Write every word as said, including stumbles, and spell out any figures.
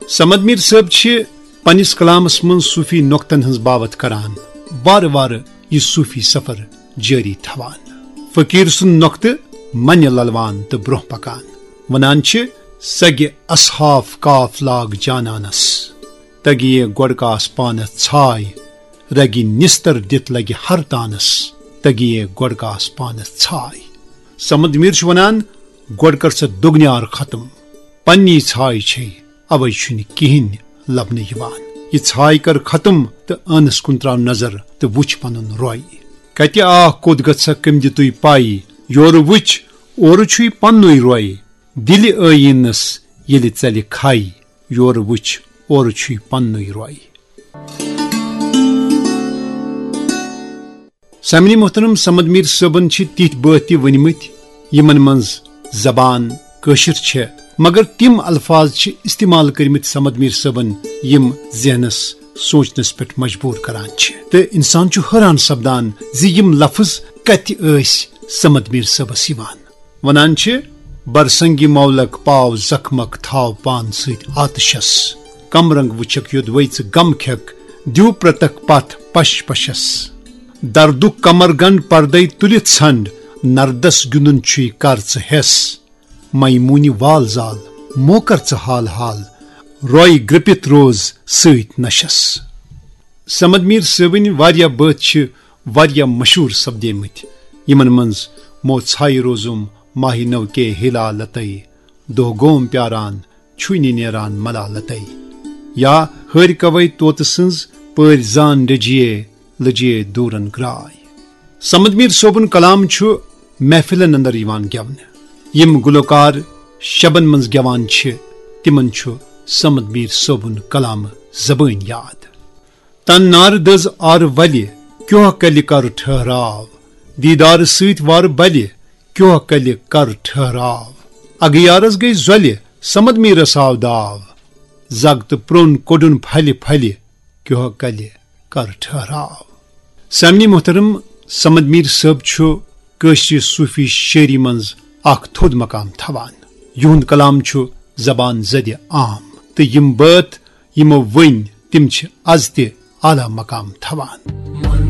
صمد میر صٲب چھِ پننِس کلامس منٛز صوفی نۄقطن ہٕنٛز باوتھ کران، وارٕ وارٕ یہِ صوفی سفر جٲری تھاوان۔ فقیٖر سُنٛد نۄقطہٕ منہِ للوان تہٕ برونٛہہ پکان۔ ونان چھِ، سگہِ اصحاف کاف لاگ جانانس، تگہِ یہِ گۄڈٕ کاس پانس ژھاے، رگہِ نِستر دِتھ لگہِ ہر تانس، تگہِ یہِ گۄڈٕ کاس پانس ژھاے۔ صمد میر چھُ ونان، گۄڈٕ کر سا دۄگنیار ختم، پننی ژھاے چھے، اوے چھُنہٕ کِہیٖنۍ لبنہٕ یِوان۔ یہِ ژھاے کر ختم تہٕ ٲنس کُن تراو نظر تہٕ وٕچھ پنُن روے۔ کتہِ آکھ کوٚت گژھکھ کٔمۍ دِ تُے پاے، یورٕ وٕچھ اورٕ چھُے پننُے روے۔ دِلہِ ٲییٖنس ییٚلہِ ژلہِ کھے، یورٕ وٕچھ اورٕ چھُے پننُے روے۔ سامعین محترم، صمد میر صٲبن چھِ تِتھۍ بٲتھ تہِ ؤنمٕتۍ، یِمن منٛز زبان کٲشِر چھےٚ، مگر تِم الفاظ چھِ استعمال کٔرمٕتۍ صمد میر صٲبن، یِم ذہنس سونچنس پٮ۪ٹھ مجبور کران چھِ، تہٕ انسان چھُ حٲران سپدان زِ یِم لفظ کتہِ ٲسۍ صمد میر صٲبس یِوان۔ ونان چھِ، برسنگی مولک پاو زخمک تھاو پان سۭتۍ آتشس، کم رنگ وٕچھکھ یوٚدوے ژٕ غم کھٮ۪کھ، دیو پرتک پتھ پش پشس۔ دردُک کمر گنڈ پردے تُلِتھ ژھنڈ، نردس گِنٛدُن چھُے کر ژٕ ہٮ۪س۔ میمونہِ وال زال، موکر ژٕ حال حال، روے گرٛپِتھ روز سۭتۍ نشس۔ صمد میر صٲبٕنۍ واریاہ بٲتھ چھِ واریاہ مشہوٗر سپدیمٕتۍ، یِمن منٛز مو ژھایہِ روزُم ماہہِ نو کے ہلالتے، دۄہ گوم پیاران چھُے نہٕ نیران ملالتے، یا ہٲرۍ کوے طوطہٕ سٕنٛز پٲرۍ زان ڈٔجیے لٔجیے دوٗرن گراے۔ صمد میر صٲبُن کلام چھُ محفلن اندر یِوان گٮ۪ونہٕ۔ یِم گلوکار شبن منٛز گٮ۪وان چھِ، تِمن چھُ صمد میر صٲبُن کلام زبٲنۍ یاد۔ تن نار دٔز آرٕ ولہِ، کیوہ کلہِ کر ٹھہراو۔ دیدار سۭتۍ وارٕ بلہِ، کیوہ کلہِ کر ٹھہراو۔ اگیارس گٔے زۄلہِ، صمد میرس آو داو۔ زگ تہٕ پرٛون کوٚڈُن پھلہِ پھلہِ، کیوہ کلہِ کر ٹھہراو۔ سامعین محترم، صمد میر صٲب چھُ کٲشرِ صوفی شٲعری منٛز اکھ تھوٚد مقام تھاوان۔ یِہُنٛد کلام چھُ زبان زدِ عام تہٕ یِم بٲتھ یِمو ؤنۍ، تِم چھِ از تہِ اعلیٰ مقام تھاوان۔